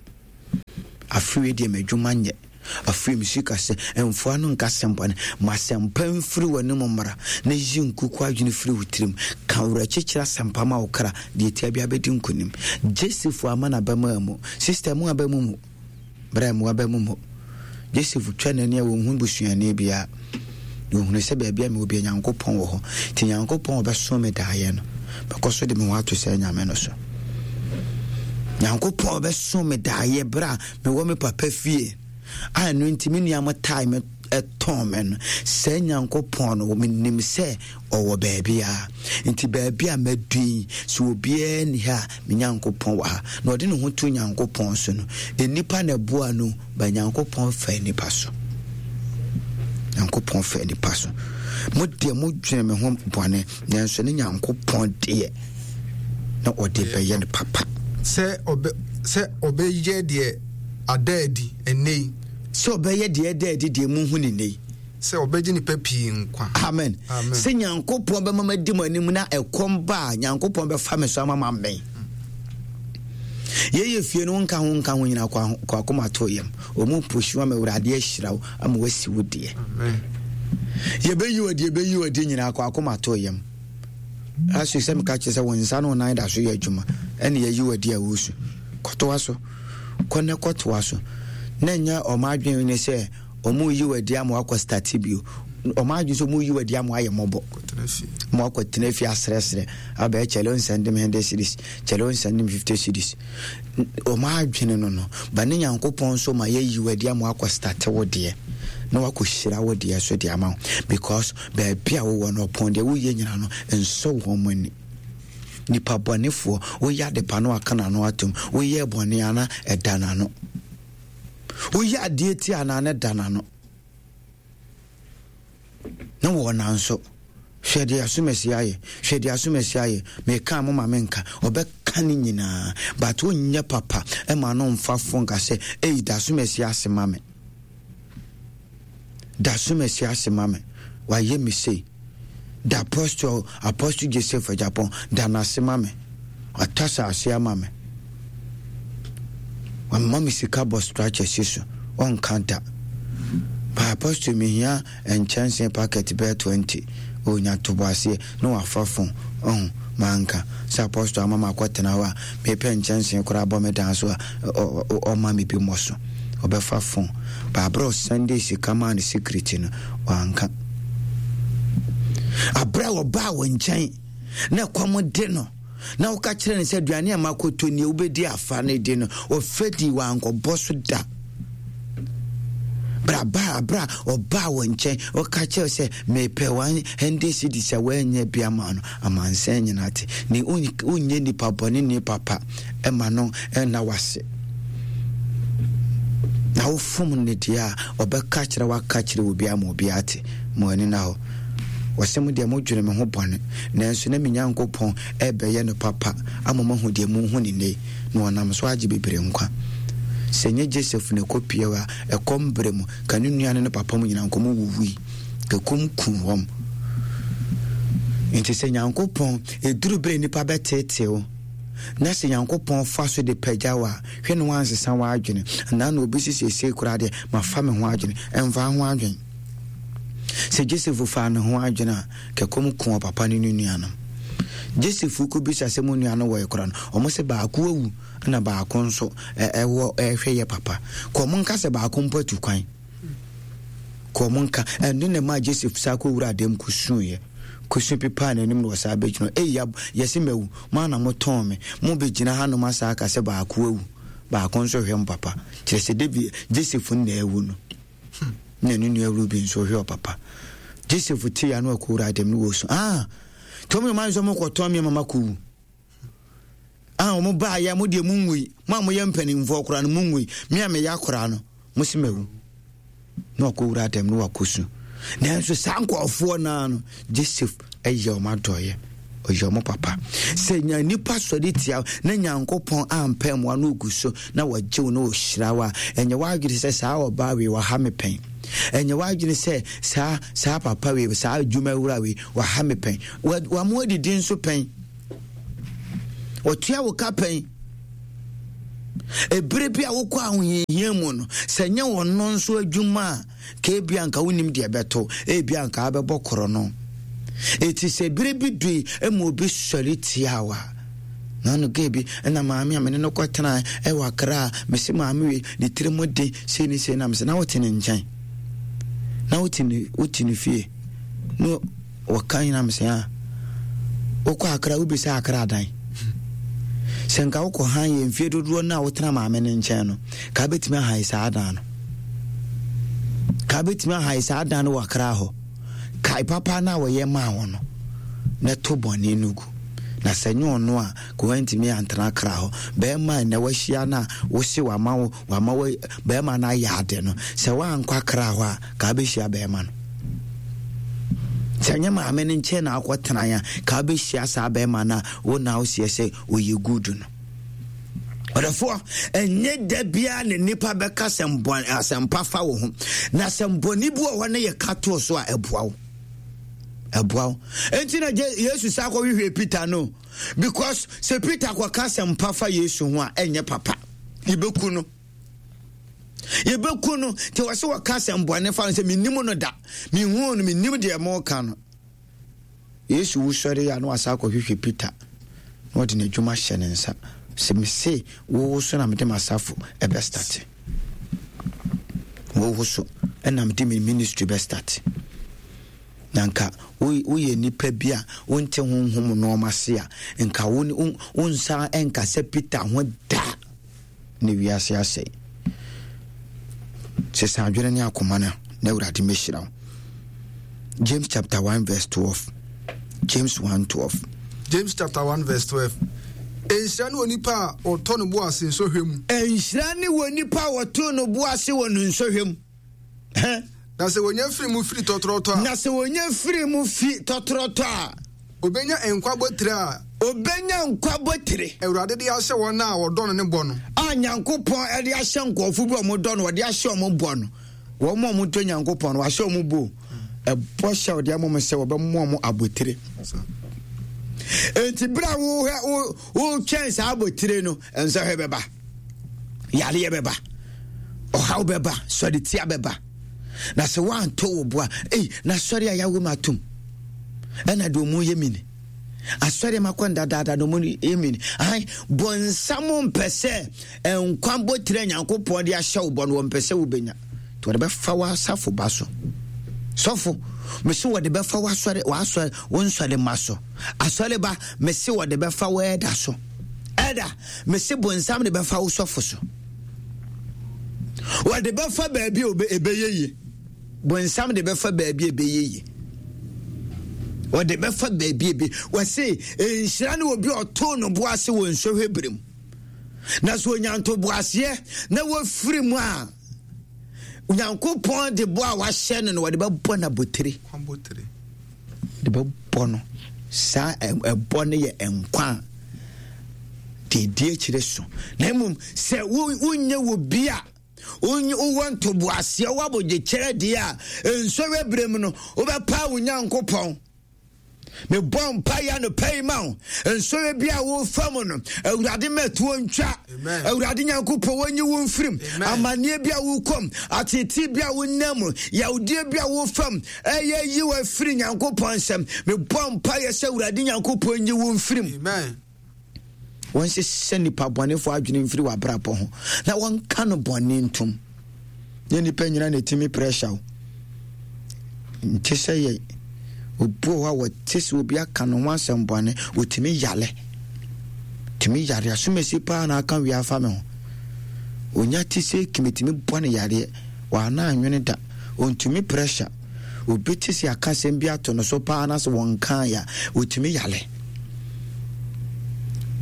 Afei deɛ m'adwuma nyɛ. Afei me sika sɛ mfa no nka asɛmbɔne. Ma asɛmpa mfiri w'anom mmra na yi nkuku adwene firi wo tirim. Ka werɛkyekyerɛ asɛmpa ma wo kra deɛ tia bi abɛdi nkonim. Joseph ama n'abɛma mu. Sister mu abɛmu mu. Bra mu abɛmu mu. Joseph twa n'ani a wɔnhu busuani biara. Wɔhunu sɛ baabi a mewɔ bia Nyankopɔn wɔ hɔ. Nti Nyankopɔn ɔbɛso me daeɛ no, mɛkɔ so de me ho ato sɛ Nyame no so. Nyankopɔn ɔbɛso me daeɛ berɛ a mewɔ me papa fie a ɛno nti me nua mo tae me ɛtɔn me no, sɛ Nyankopɔn no menim sɛ ɔwɔ baabi a nti baabi a madu yi sɛ obiara ni ha a me Nyankopɔn wɔ ha. Na ɔde ne ho to Nyankopɔn so no, nnipa na ɛboa no, ba Nyankopɔn fa nnipa so. Nyankopɔn fa nnipa so. Mo deɛ modwene me ho bɔne, nanso ne Nyankopɔn deɛ na ɔde bɛyɛ no papa. Sɛ ɔbɛ sɛ ɔbɛyɛ deɛ ada adi ɛnnɛ yi. Sɛ ɔbɛyɛ deɛ ɛda adi deɛ muhu ne nnɛ yi. Sɛ ɔbɛgye nipa pii nkwa. Amen. Amen. Sɛ Nyankopɔn bɛma madi mo anim na ɛkɔm ba a, Nyankopɔn bɛfa me so ama ma mmɛn. Yɛyɛ fie no nka ho nka ho nyinaa kɔ akoma to yam. Ɔmu pushi ama Awurade ahyira wo ama wasi wo deɛ. Amen. Yɛbɛyi wo adi, yɛbɛyi wo adi nyinaa kɔ akoma to yam. Aso sɛ meka kyerɛ sɛ wo nsa ne wo nan da so yɛ adwuma ɛne yɛyi wo adi a wosu. Kɔtoa so. Kɔ ne kɔtoa so. Na nyɛ ɔmo adwene ne sɛ ɔmo yi wo adi ama wakɔ start bio. Ɔmo adwene sɛ ɔmo yi wo adi ama wayɛ mmɔbɔ. Mo akɔtena fie asrɛsrɛ abɛyɛ kyɛlɛ nsɛnde me hundred cedis, kyɛlɛ nsɛnde me fifty cedis. Ɔmo adwene no no, ba ne Nyankopɔn nso ma yɛyi wo adi ama wakɔ start wo deɛ na wakɔ hyira wo deɛ so deɛ ama wo, because baabi a wowɔ no ɔpɔn deɛ woyɛ nyina no nsɔ wɔn mo ani. Nipa bɔnefoɔ woyɛ adepa no aka n'ano atom, woyɛ bɔne ana ɛda n'ano, woyɛ adeɛ ti ana ne da n'ano na wɔ nanso hwɛ deɛ asomasi ayɛ, hwɛ deɛ asomasi ayɛ, meka mo ma menka, ɔbɛka ne nyinaa, but wonyɛ papa ɛma no mfa fo nka sɛ ei da asomasi ase ma me, da asomasi ase ma me, wayɛ me sei. Da apostle Apostle Joseph Japan da n'ase ma me, watɔ asase ama me, wama me sika bɔ structure si so, ɔnka da. Ba apostle mehia nkyɛnse packet bɛyɛ twenty, onya tobo aseɛ na wafa phone ɔho manka sɛ apostle ama ma akɔtena hɔ a mepɛ nkyɛnse koraa bɔ me dan so a ɔma me bi mmɔ so, ɔbɛfa phone. Ba aberɛ Sunday sika maa ne security no wanka. Aberɛ a ɔbaa wɔ nkyɛn na ɛkɔm de no na woka kyerɛ no sɛ aduane a makɔtɔ nie wobɛdi afa no di no, ɔfɛ di wankɔbɔ so da. Braba abra ɔbaa wɔ nkyɛn ɔka kyerɛ sɛ mepɛ one hundred cedis a woanyɛ bi ama no, amansan nyinaa te ne wonyɛ nipa bɔne ne papa ɛma no ɛna wase. Na wofom ne deɛ a ɔbɛka kyerɛ waka kyerɛ obi ama obi ate mo ani na hɔ. Wɔsɛ mo deɛ modwene me ho bɔne, nanso na me Nyankopɔn ɛbɛyɛ no papa ama mahu deɛ muhu ne nnɛ, na ɔnam so agye bebree nkwa. Sɛ nyɛ Joseph na ɛkɔpie a ɛkɔm berɛ mu ka ne nua ne ne papa mu nyinaa nkɔmɔ wuwui, ɛkɔm kum wɔm. Nti sɛ Nyankopɔn ɛduru berɛ nnipa bɛteetew na sɛ Nyankopɔn fa so de pagya wo a, hwɛ ne wansesa w'adwene. Anaa na obi sisiesie koraa deɛ mafa me ho adwene, ɛmfa ho adwene. Sɛ Joseph fa ne ho adwene a, kɛkɔm ku ɔpapa ne ne nuanom. Joseph kɔbisa sɛ mo nua no wɔ ekora no, ɔmo sɛ baako awu na baako nso ɛwɔ ɛhwɛ yɛ papa. Kɔ ɔmo nka sɛ baako mpo atu kwan. Kɔ ɔmo nka ɛno na ɛmaa Joseph saa kɔwura dɛm kɔsuiɛ. Kɔsu pepaa n'anim na wɔsaa bɛgyina. Ei, yɛse mawu, mo ana motɔn me, mo bɛgyina hanom asa aka sɛ baako awu, baako nso hwɛ mo papa. Kyerɛ sɛ David Joseph na awu no. Na ne nua Ruben nso hwɛ ɔpapa. Joseph te ya no akɔwura dɛm no wɔ su. Ah, tɔm yɛ maa nso mo kɔtɔn mi mama kɔwu. Ah, wɔn baa yɛ mo deɛ mo nwui, mo a mo yɛ mpanimfoɔ koraa no mo nwui, me a meyɛ akora no mo si mawu. Na wakɔwura dɛm no wakɔsu. Nanso saa nkurɔfoɔ naa no Joseph ɛyɛ wɔn adɔeɛ, ɔyɛ wɔn papa. Sɛ nya nipa sɔre tia na Nyankopɔn ampɛ mmoa no ogu so na wɔgye wo na wɔhyira wo a, ɛnyɛ w'adwene sɛ saa ɔbaa wei waha me pɛn, ɛnyɛ w'adwene sɛ saa saa papa wei saa adwumawura wei waha me pɛn, wamo adidi nso pɛn, wɔtua wo ka pɛn. Ebere bi a wokɔ ahohiahia mu no, sɛ nyɛ ɔno nso adwuma a, ka ebia nka wonim deɛ ɛbɛto, ebia nka abɛbɔ korɔ no. Eti sɛ bere bi dui ma obi sɔre tia wo a, na no gay bi ɛna maame a mene no kɔtena ɛwɔ Accra a, mese maame wei ne tiri mu den sei ne sei, na mese na wote ne nkyɛn, na wote ne wote ne fie, na wɔka nyina mese a wokɔ Accra wobisa Accra dan. Sɛ nka wokɔ han yɛ mfie dodoɔ no a wotena maame no nkyɛn no, ka bɛtumi ahan saa dan no, ka bɛtumi ahan saa dan no wɔ Accra hɔ. Kae papa no a wɔyɛ maa wo no, na to bɔne no gu. Na sɛ nyɛ ɔno a, ka woantumi antena Accra hɔ. Bɛrima a nnɛ wahyia no a wose wama wo wama wo bɛrima no ayɛ ade no, sɛ woankɔ Accra hɔ a, ka wobɛhyia bɛrima no. Sɛ nyɛ maame no nkyɛn na akɔtena a, ka wobɛhyia saa bɛrima no a wo na woseɛ sɛ ɔyɛ good no. Ɔdɔfoɔ, ɛnyɛ da biara na nnipa bɛka asɛmpa fa wo ho. Na asɛmbɔne bi wɔ hɔ no yɛ ka too so a ɛboa wo. Ɛboa wo. Enti na Yesu saa kɔhwehwɛ Peter no. Because sɛ Peter kɔka asɛmpa fa Yesu ho a, ɛnyɛ papa. Yɛbɛku no. Yɛbɛku no. Nti wɔ sɛ wɔka asɛmbɔne fa no sɛ mennim no da. Menhuu no, mennim deɛ moka no. Yesu wusɔre a na wasan akɔhwehwɛ Peter na ɔde n'adwuma hyɛ ne nsa sɛ mese wowo so na mede m'asafo ɛbɛstate, wowo so ɛna mede me ministry bɛstate. Na nka woyɛ nipa bi a wonte honhom nneɛma ase a, nka wo nsa ɛnka sɛ Peter ho da ne wiase asɛe. Sesa adwene ne akoma no na Awurade mɛhyira wo. James chapter one verse twelve. James one twelve. James chapter one verse twelve. Nhyira ne onipa a ɔtɔ ne bo ase nsɔhwɛ mu. Nhyira ne onipa a ɔtɔ ne bo ase wɔ ne nsɔhwɛ mu. Na sɛ wɔnya firi mu firi tɔtrɔtɔ a. Na sɛ wɔnya firi mu fi tɔtrɔtɔ a. Obenya nkwa botire a. Obenya nkwa botire. Awurade de ahyɛ wɔn a wɔdɔ no ne bɔ no. A Nyankopɔn de ahyɛ nkurɔfo bi a wɔdɔ no, wɔde ahyɛ wɔn bɔ no. Wɔn a wɔdɔ Nyankopɔn no, wɔahyɛ wɔn bɔ. Ɛbɔ hyɛ wɔde ama wɔn sɛ wɔbɛmo wɔn abotire. Enti bere a wohwɛ wotwɛn saa abotire no, nsɔhwɛ bɛba, yareɛ bɛba, ɔhaw bɛba, sɔretia bɛba. Na sɛ woanto wo bo a, ei, na sɔre a yɛawo mu atom ɛna deɛ ɔmu yɛ mini asɔre ma kɔ ndadaada na ɔmu yɛ mini. Ahan, bɔnsam mpɛ sɛ nkwa botire Nyankopɔn de ahyɛ wo bɔ no, wɔmpɛ sɛ wobɛnya. Nti wɔde bɛfa w'asafo ba so. Sɔfo, mese wɔde bɛfa w'asɔre w'asɔre wo nsɔre ma so. Asɔre ba, mese wɔde bɛfa w'ɛda so. Ɛda, mese bonsam de bɛfa wo sɔfo so. Wɔde bɛfa baabi a ɛbɛyɛ yie. Bonsam de bɛfa baabi a ɛbɛyɛ yie. Wɔde bɛfa baabi a ɛbɛ. Wɔse nhyira ne obi a ɔtoo no bo ase wɔ nsɔhwɛ bere mu. Na sɛ onya ntoboaseɛ na wɔfiri mu a, Nyankopɔn de bo a wahyɛ no no wɔde bɛbɔ no abotire. De bɛbɔ no. Saa ɛbɔ no yɛ nkwa a deɛ ɛdi akyire so. Na mmom sɛ wonyɛ wɔ bi a wowɔ ntoboaseɛ, wowɔ abodwokyerɛ deɛ a, nsɔhwɛ berɛ mu no wobɛpaa wo Nyankopɔn. Mebɔ mpaeɛ anɔpa yi ma wo. Nsɔhwɛ bi a wofa mu no, Awurade mɛtoɔ ntwa. Awurade Nyankopɔn wɔnyi wo mfirim. Amanneɛ bi a wokɔm, atetee bi a wonam mu, yawdeɛ bi a wofam, ɛyɛ yi wo afiri Nyankopɔn nsam. Mebɔ mpaeɛ sɛ Awurade Nyankopɔn nyi wo mfirim. Wɔnsesɛ nnipa bɔnefoɔ adwene mfiri w'abrabɔ ho na wɔnka no bɔne ntom. Nyɛ nnipa nyina na ɛtumi pressure wo. Nte sɛ yɛ obi wɔ hɔ a wɔte sɛ obi aka ne ho asɛm bɔne, wɔtumi yale. Tumi yare asomasi paa na aka wie afa me ho. Onya te sɛ kimitumi bɔ ne yareɛ, wɔana anwene da, ɔntumi pressure. Obi te sɛ aka asɛm bi ato no so paa na sɛ wɔnkaa ya, wɔtumi yale.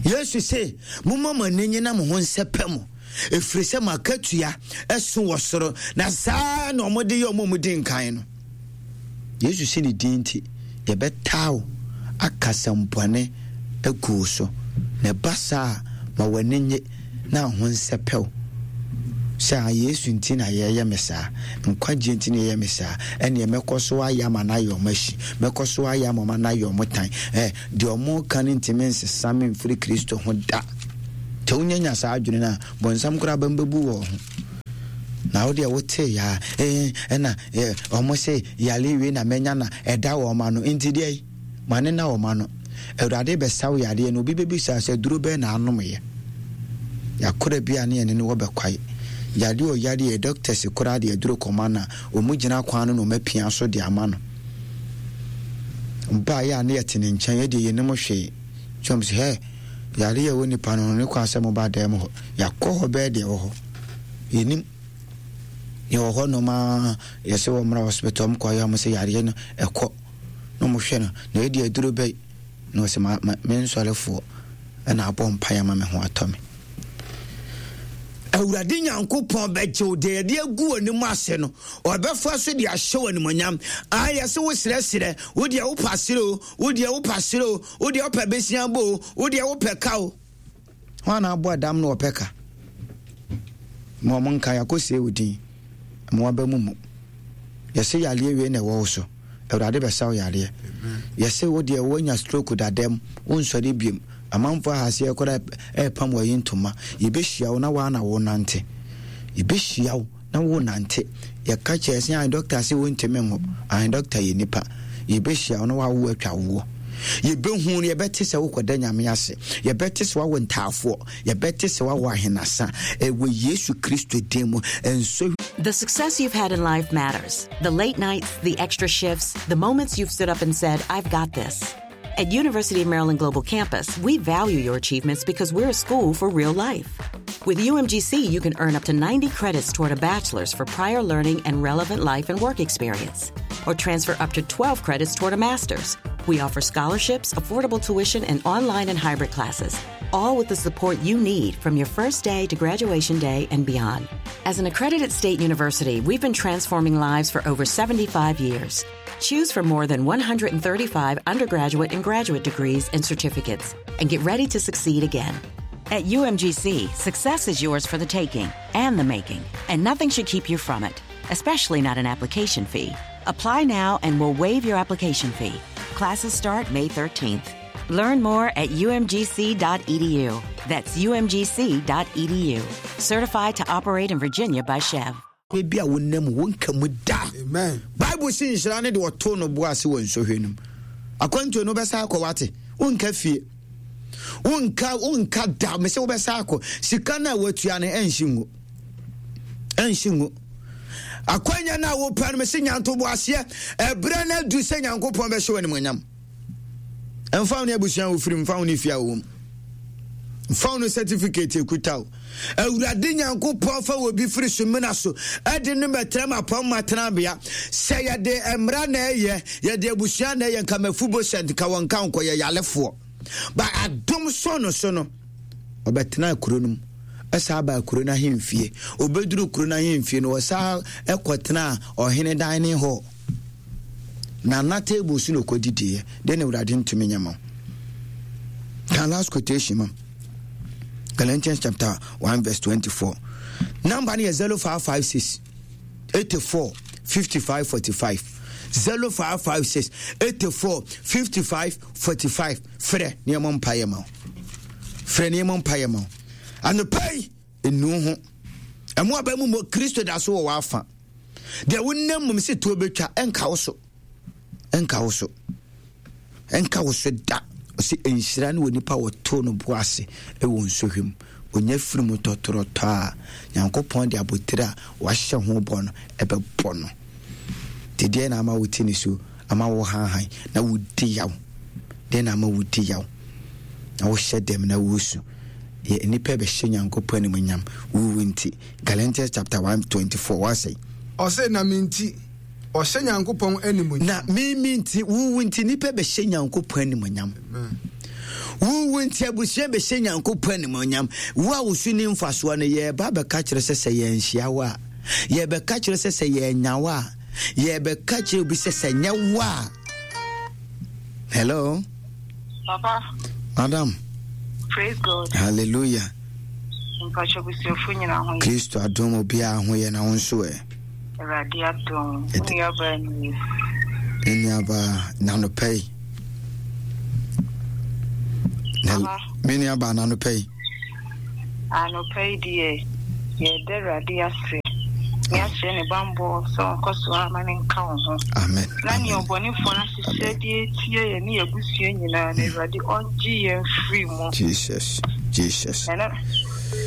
Yesu se, momma mo ani nye na mo ho nsɛpɛ mo, ɛfiri sɛ mo akatua ɛso wɔ soro, na saa na wɔde yɛ wɔn a wɔdi nkan no. Yesu se ne din nti, yɛbɛtaa wo aka asɛmbɔne agu wo so, na ɛba saa a, ma w'ani nye na ho nsɛpɛ wo. Sɛ a Yesu nti na yɛyɛ me saa, nkwagyeɛ nti na yɛyɛ me saa, ɛneɛ mɛkɔ so ayɛ ama no ayɛ ɔmo ahyi, mɛkɔ so ayɛ ama ɔmo ano ayɛ ɔmo tan. Eh, deɛ ɔmo ka no ntumi nsesa me mfiri Kristo ho da. Nti wonyanya saa adwene no a, bɔnsam koraa bɛmbɛbu wɔ ho. Na wo deɛ wotee yaa ee ɛna ɔmo se yale wei na mɛnya na ɛda wɔn ano nti deɛ yi ma ne na wɔn ano. Awurade bɛsa wo yadeɛ no, obi bɛbisa sɛ duro bɛn na anomyɛ. Yakora bi a ne yɛne no wɔ bɛkwae. Yadeɛ ɔyadeɛ doctors koraa de aduro kɔma no a, ɔmu gyina kwan no na ɔma pia so de ama no. Baeɛ a ne yɛte ne nkyɛn, yɛdeɛ yɛnim hwee. Kyɛm sɛ hɛ, yadeɛ ɛwɔ nipa no ne kwan sɛ moba dan mu hɔ. Yɛakɔ hɔ bɛɛ deɛ wɔ hɔ. Yɛnim. Yɛwɔ hɔ nom a yɛsɛ wɔ mmra hospital ɔmo kɔ yɛ ɔmo sɛ yadeɛ no ɛkɔ. Na ɔmo hwɛ no, na yɛde aduro bɛyi. Na ɔsɛ ma ma me nsɔrefoɔ ɛna abɔ mpaeɛ ama me ho atɔ me. Awurade Nyankopɔn bɛgye wo deɛ yɛde agu w'anim ase no, ɔbɛfa so de ahyɛ w'animuonyam. Ah, yɛsɛ wo serɛserɛ, wo deɛ wopɛ asere o, wo deɛ wopɛ asere o, wo deɛ wopɛ besia bɔ o, wo deɛ wopɛ ka o. Hwan na abɔ adam na ɔpɛ ka? Ma ɔmo nka yɛakɔsie wo din, ma waba mu mu. Yɛsɛ yareɛ wei na ɛwɔ wo so, Awurade bɛsa wo yareɛ. Yɛsɛ wo deɛ woanya stroke dadam, wonsɔre biom. Amanfoɔ ahaseɛ koraa ɛrepam wɔyi ntoma. Yɛbɛhyia wo na woa na wo nante. Yɛbɛhyia wo na wo nante. Yɛka kyerɛ sɛ ahe dɔkta sɛ wontumi nwo. Ahe dɔkta yɛ nipa. Yɛbɛhyia wo na woawo atwa woɔ. Yɛbɛhu no, yɛbɛte sɛ wokɔda Nyame ase. Yɛbɛte sɛ woawo ntaafoɔ. Yɛbɛte sɛ woawo ahenasa. Ɛwɔ Yesu Kristo din mu. Nso The success you've had in life matters. The late nights, the extra shifts, the moments you've stood up and said, I've got this. At University of Maryland Global Campus, we value your achievements because we're a school for real life. With U M G C, you can earn up to ninety credits toward a bachelor's for prior learning and relevant life and work experience, or transfer up to twelve credits toward a master's. We offer scholarships, affordable tuition, and online and hybrid classes, all with the support you need from your first day to graduation day and beyond. As an accredited state university, we've been transforming lives for over seventy-five years. Choose from more than one hundred thirty-five undergraduate and graduate degrees and certificates, and get ready to succeed again. At U M G C, success is yours for the taking and the making, and nothing should keep you from it, especially not an application fee. Apply now and we'll waive your application fee. Classes start May thirteenth. Learn more at U M G C dot E D U. That's U M G C dot E D U. Certified to operate in Virginia by C H E V. Ebi a wonam wonka mu da. Amen. Bible si nhyira ne de wɔto no bo ase wɔ nsohwɛ no mu. Akwantuo no wobɛsa akɔ wate. Wonka fie. Wonka, wonka da. Mese wobɛsa akɔ. Sika no a watua no ɛnhye ngu. Ɛnhye ngu. Akwanya no a wopɛ no mese nyanto bo aseɛ. Ɛberɛ no adu sɛ Nyankopɔn bɛhyɛ w'animuonyam. Ɛmfa wo ne abusua a wofiri, mfa wo ne fie a wowɔ mu. Mfa wo ne certificate ekuta wo. Awurade Nyankopɔn fa wɔ bi firi so mena so ɛde no bɛtena ma pɔn ma tenabea. Sɛ yɛde mmara na ɛyɛ, yɛde abusua na ɛyɛ, nka Mephibosheth nka wɔn nka nkɔ yɛ yalefoɔ. Ba adom so no so no, ɔbɛtena kuro no mu. Ɛsa aba kuro no ahemfie. Obɛduru kuro no ahemfie no, ɔsa ɛkɔtena ɔhene dining hall. Na na table so na ɔkɔdidiiɛ. Deɛ na Awurade ntumi nyɛ ma wo. Ka last quotation ma. Galatians chapter one verse twenty-four. Number no yɛ zero five five six eighty-four fifty-five forty-five. zero five five six eighty-four fifty-five forty-five. Frɛ nneɛma mpaeɛ ma wo. Frɛ nneɛma mpaeɛ ma wo. Anɔpa yi, enu ho. Ɛmo aba mu mo Kristo da so wɔ w'afa. Deɛ wonam mu sɛ tuo bɛtwa, ɛnka wo so. Ɛnka wo so. Ɛnka wo so da. Ɔsɛ nhyira ne wɔ nipa wɔto no bo ase ɛwɔ nsohwɛ mu. Onya firi mu tɔtorɔtɔ a, Nyankopɔn de abotire a wahyɛ ho bɔ no ɛbɛbɔ no. Nti deɛ na ama wo ti ne so, ama wo hanhan, na wo di yaw. Deɛ na ama wo di yaw, na wo hyɛ dɛm na wo su. Yɛ nipa bɛhyɛ Nyankopɔn animuonyam, wo wu nti. Galatians chapter one twenty-four, wasɛ. Ɔsɛ na me nti, ɔhyɛ Nyankopɔn animuonyam. Na me me nti, wo wu nti, nipa bɛhyɛ Nyankopɔn animuonyam. Amen. Wo wu nti, abusua bɛhyɛ Nyankopɔn animuonyam. Wo a wo so ni mfasoɔ no, yɛba bɛka kyerɛ sɛ sɛ yɛnhyia wo a, yɛbɛka kyerɛ sɛ sɛ yɛnya wo a, yɛbɛka kyerɛ obi sɛ sɛ nyɛ wo a. Hello? Papa. Madam. Praise God. Hallelujah. Mpacho busuafo nyina ho. Kristo adom obi a ho yɛ na wo nso ɛ. Awurade adom. Wo nua ni. Me nua ba na no pɛ. Me nua ba na no pɛ. Anɔpa yi deɛ, yɛda Awurade ase. Ne akyerɛ ne bammɔ sɛ ɔnkɔ so ama ne nka wo ho. Amen. Na nea ɔbɔnefoɔ no ahyehyɛ de atia yɛn ne yɛn abusua nyinaa no, Awurade ɔngye yɛn firi mu. Jesus. Jesus. Ɛna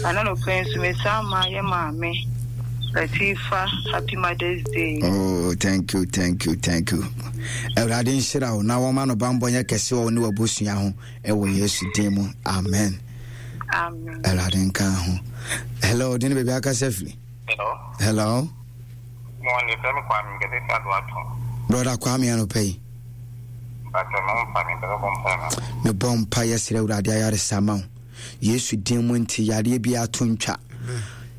ɛna nɔpɛ yi nso mesan ma yɛ maame Latifa happy Mother's Day. Oh, thank you, thank you, thank you. Awurade nhyira wo na wɔma no bammɔ nyɛ kɛse wɔ wo ne w'abusua ho ɛwɔ Yesu din mu. Amen. Amen. Awurade nka ho. Hello, de ne baabi akasa firi. Hello. Hello. Morning, fẹ́ mi Kwame, nkẹ́sẹ̀ fi àdó àtún. Brother Kwame anɔpa yi. Bàtà mi ń fa mi, bẹ́ẹ̀ bọ́ mpa mi. Mebɔ mpa yɛsrɛ Awurade ayaresa ma wo. Yesu din mu nti yareɛ bi ato ntwa.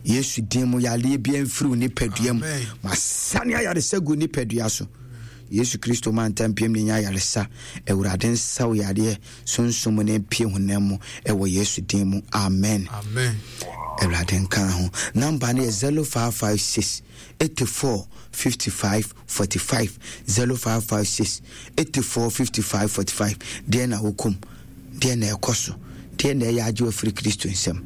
Yesu din mu yareɛ bi amfiri wo nipadua mu. Amen. Masane ayaresa gu nipadua so. Yesu Kristo ma ntampiam ne nya ayaresa. Awurade nsa wo yareɛ sunsum ne mpie honam mu ɛwɔ Yesu din mu. Amen. Amen. Awurade nka ho. Namba no yɛ zero five five six eighty-four fifty-five forty-five, zero five five six eighty-four fifty-five forty-five. Deɛ na wokom, deɛ na ɛkɔ so, deɛ na ɛyɛ agye wafiri Kristo nsɛm,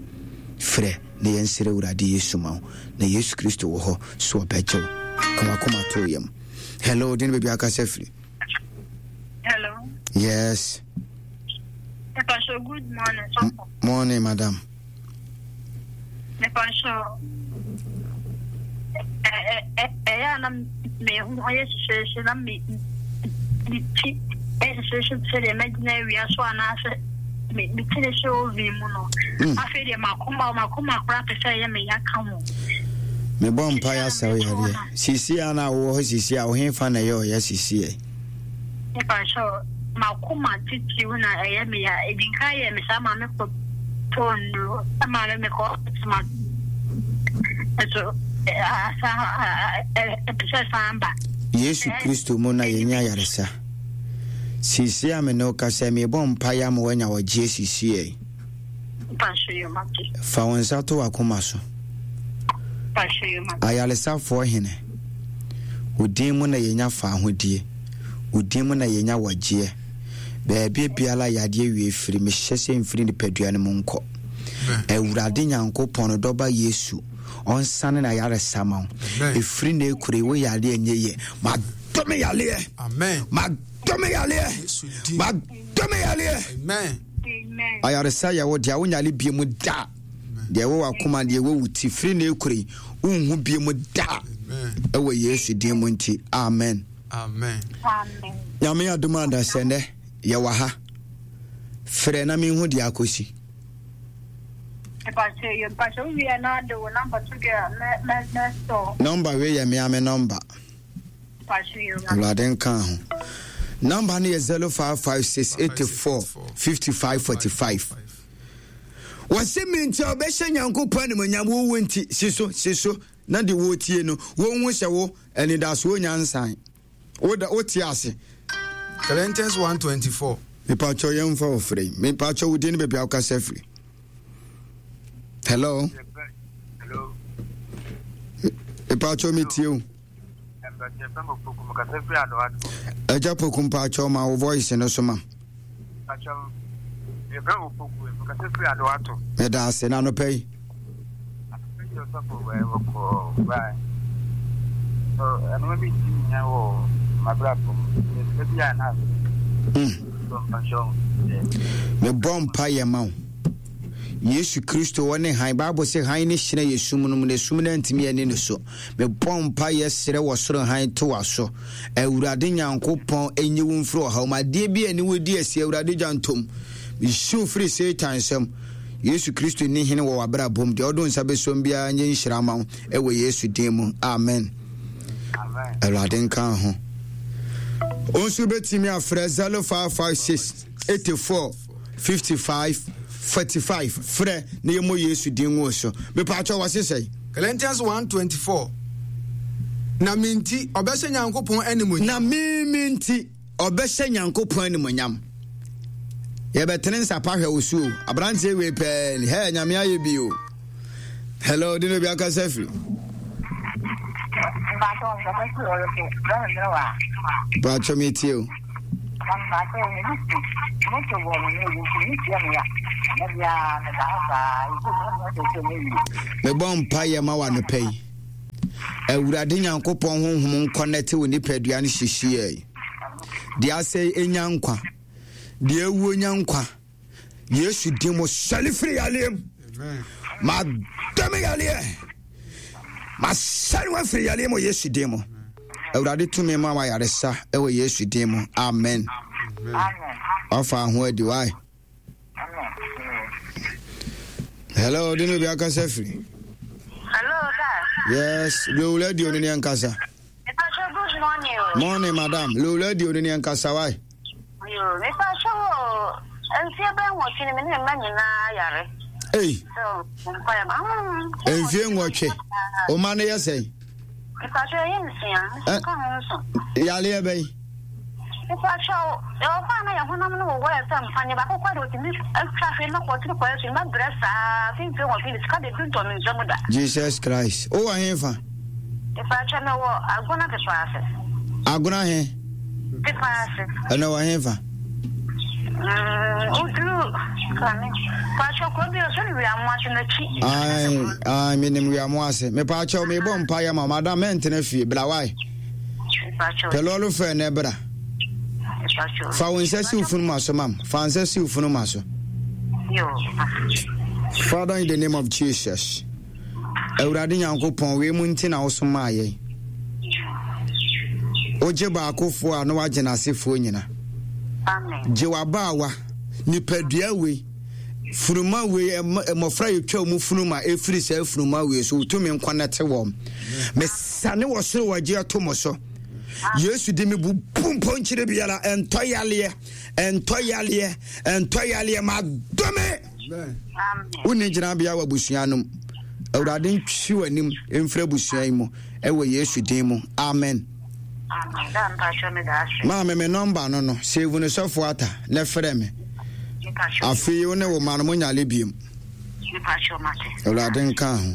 frɛ na yɛnsrɛ Awurade Yesu ma wo, na Yesu Kristo wɔ hɔ so ɔbɛgye wo ka wakoma to yam. Hello, de ne baabi akasa firi. Hello. Yes. Mepa good morning, sɔfo. Morning, madam. Mepa ɛyɛ a na me ho ɔyɛ hyehyɛhyehyɛ na me me ti ɛyɛ hyehyɛhyehyɛ te sɛ deɛ mɛgyina awia so anaasɛ me me ti ne hyɛ oven mu no. Mm. Afei deɛ makoma makoma koraa pɛ sɛ ɛyɛ me ya ka ho. Mebɔ mpa yɛ asɛ wo yareɛ sisi a na wowɔ hɔ sisi a wohefa na ɛyɛ ɔyɛ sisi ɛ? Mepa makoma titiriw na ɛyɛ me ya. Edi nka yɛ me saa maame kɔ tɔɔ nnuro ɛma me mekɔ ma nso asa ɛpɛ sɛ san ba. Yesu Kristo mu na yɛnya ayaresa. Sisi a me ne wo kasa, mebɔ mpa yɛ ama woanya wɔgyeɛ sisi ɛ. Mpahyɛ yɛ mate. Fa wo nsa to w'akoma so. Mpahyɛ yɛ mate. Ayaresafoɔ hene, wo din mu na yɛnya fa ahodie, wo din mu na yɛnya wɔgyeɛ. Baabi biara yadeɛ wie firi, mehyɛ sɛ mfiri nipadua no mu nkɔ. Awurade Nyankopɔn no dɔba Yesu ɔnsane na yaresa ma wo. Amen. Ɛfiri na ɛkure wo yareɛ nyɛ yɛ, madɔme yareɛ. Amen. Madɔme yareɛ. Yesu din. Madɔme yareɛ. Amen. Amen. Ayaresa yɛ wo deɛ, wonyale bie mu da. Deɛ ɛwɔ w'akoma, deɛ ɛwɔ wo ti, firi na ɛkure wonhu bie mu da. Amen. Ɛwɔ Yesu din mu nti, amen. Amen. Amen. Nyame adom adasɛ nnɛ yɛwɔ ha. Frɛ na menhu deɛ akɔsi. Mpahyɛ yɛ mpahyɛ wo wie na de wo number to deɛ mɛ mɛ mɛ sɔ. Nɔmba wei yɛ mea me nɔmba. Mpahyɛ yɛ mate. Awurade nka ho. Nɔmba no yɛ zero five five six eighty-four fifty-five forty-five. Wɔse me nti a wɔbɛhyɛ Nyankopɔn animonyam. Wowo nti si so, si so na de wɔtie no wɔnhu sɛ wo anidasoɔ nyansan woda wote ase. Galatians one twenty-four. Mepakyɛw, yɛmfa wo frɛ yi. Mepakyɛw, wo din ne baabi a wokasa firi. Hello. Hello. Mepakyɛw, metie wo. Yɛfrɛ me Poku, mekasa firi Adoato. Agya Poku, mpakyɛw, ma wo voice no so ma. Mpakyɛw, yɛfrɛ me Poku, mekasa firi Adoato. Meda ase na anɔpa yi. Anɔpa yi, ɔsɔfo, wɔkɔ bae. So ɛnoma bi nti nyina wɔ m'abrabɔ mu. Mesrɛ bi a na Mm. so mpakyɛw. Mebɔ mpa yɛ ma wo. Yesu Kristo wɔ ne han. Bible sɛ han ne hyerɛn yɛ sum no mu na sum no antumi ani ne so. Mebɔ mpa yɛ serɛ wɔ soro han to wa so. Awurade Nyankopɔn ɛnyi wo mfiri ɔhaw mu. Adeɛ bi a ɛne wo di asi, Awurade gya ntom. Mehyiw firi Satan nsam. Yesu Kristo ni hene wɔ w'abrabɔ mu. Deɛ ɔdo nsa bɛsom biara nyɛ nhyira ma wo ɛwɔ Yesu din mu, amen. Amen. Awurade nka ho. Wo nso wobɛtumi afrɛ zero five five six eighty-four fifty-five forty-five. Frɛ na yɛmmɔ Yesu din wo so. Mepaakyɛ, wɔ se sɛe? Galatians one twenty-four. Na me nti ɔbɛhyɛ Nyankopɔn animuonyam. Na meme nti ɔbɛhyɛ Nyankopɔn animonyam. Yɛbɛtene nsapa hwɛ wo so o. Aberanteɛ wei pɛɛ ni hɛ, Nyame ayɛ bi o. Hello, de no obi akasa firi. Mpakyɛ, nkasa firi ɔreko bɛrɛ mmerɛ wa. Paakyɛ, metie o. Mpakyɛ, me moto bɔ me ne ebi nti me tia me ya. Mebɔ mpaeɛ ma wo anɔpa yi. Awurade Nyankopɔn honhom nkɔnɛte wo nipadua no hyehyeɛ. Deɛ asɛe ɛnya nkwa. Deɛ awuo nya nkwa. Yesu din mu sɔre firi yareɛ mu. Madɔme yareɛ. Masɔre wafiri yareɛ mu Yesu din mu. Awurade tumi ma wayaresa ɛwɔ Yesu din mu. Amen. Wafa ho adi wae. Hello, de no bi akasa firi. Hello, Dad. Yes, low radio no ne nkasa. Good morning. Morning, madam. Low radio no ne nkasa wae. Yo, mepa kyɛw mfie bɛn nwɔtwe ni me ne mma nyinaa yare. Ei. Mfie nwɔtwe. O ma no yɛ sɛn? Mepa kyɛw yɛ nsia. Ka ho nso. Yareɛ bɛn? Mepa kyɛw ɛwɔ hɔ a na yɛ honam no wowɔ yɛ sɛ mfa ne baako kɔ de otumi atwa hwee na kɔtiri kɔ ɛso ma brɛ saa fi mfie nwɔtwe ne sika de bi ntɔ me nsam da. Jesus Christ. O wɔ he fa? Mepa kyɛw mewɔ Agona Pepa ase. Agona he? Pepa ase. Ɛnɛ wɔ he fa? Ayi, menim wiamo ase. Mepaakyɛw, mebɔ mpa yɛ ma madam mɛntena fie bra wae. Pɛ lɔɔre fɛ ne bra. Fa wo nsa si wo funu ma so mam. Fa nsa si wo funu ma so. Father, in the name of Jesus. Awurade Nyankopɔn, wei mu nti na wosomaa yɛn. Wogye baakofoɔ a na wagye n'asefoɔ nyina. Gye w'abaawa, nipadua wei, funuma wei, mmɔfra yɛtwa mu funuma ɛfiri saa funuma wei so, wotumi nkɔnɛte wɔn. Mesane wɔ soro wɔgye ato mo so. Yesu de me bubu mpɔnkyerɛ biara, ɛntɔ yaleɛ, ɛntɔ yaleɛ, ɛntɔ yaleɛ, madome. Wonni gyinabea wɔ abusua no mu. Awurade ntwi w'anim mfiri abusua yi mu ɛwɔ Yesu din mu. Amen. Maame me nɔmba no no save no sɔfo ata na frɛ me. Afei wo ne wo ma no mo nyale biem. Awurade nka ho.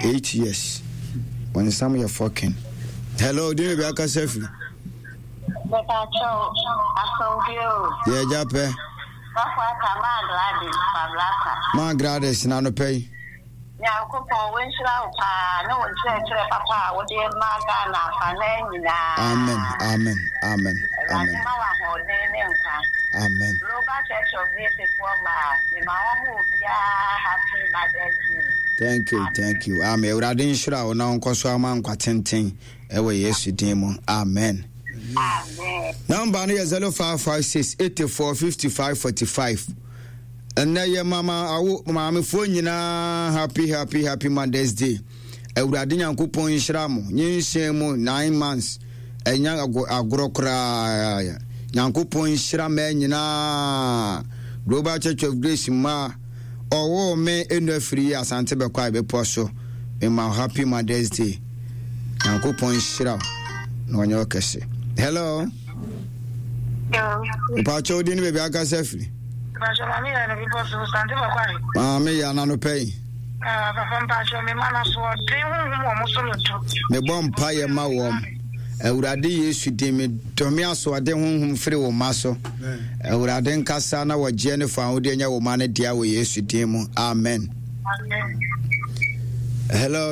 Eight years. Wɔn nsam yɛ fɔkin. Hello, di ne bi akasa firi. Yɛ gya pɛ. Maa Gladys na anɔpa yi. Nyankopɔn wɔnhyira wo paa ne wo nkyerɛkyerɛ papa a wode ma Ghana afanan nyinaa. Amen, amen, amen. Awurade ma wo ahoɔden ne nkwa. Amen. Global Church of Grace foɔ maa mema wɔn mu obiara happy Mother's Day. Thank you, thank you. Amen. Awurade nhyira wo na ɔnkɔ so ama nkwa tenten ɛwɔ Yesu din mu. Amen. Number no yɛ zero five five six eighty four fifty five forty five. Ɛnɛ yɛ mama awo maamefoɔ nyinaa happy happy happy Mother's Day. Awurade Nyankopɔn nhyira mo nyinsɛn mu nine months ɛnya agorɔ koraa. Nyankopɔn nhyira mmaa nyinaa. Global Church of Grace mmaa ɔwɔ me enu afiri yi Asante bɛkɔ a bepɔ so. Mema happy Mother's Day. Nyankopɔn nhyira wo na ɔnyɛ wo kɛse. Hello. Mpakyɛ wo din ne baabi akasa firi. Maame yɛ ananopɛ yi. Mebɔ mpaeɛ ma wɔn. Awurade Yesu din me dɔme asoɔden honhom firi wo ma so. Awurade nkasa na wɔgyeɛ ne fa ahodeɛ nyɛ wo ma no dea wɔ Yesu din mu. Amen. Hello.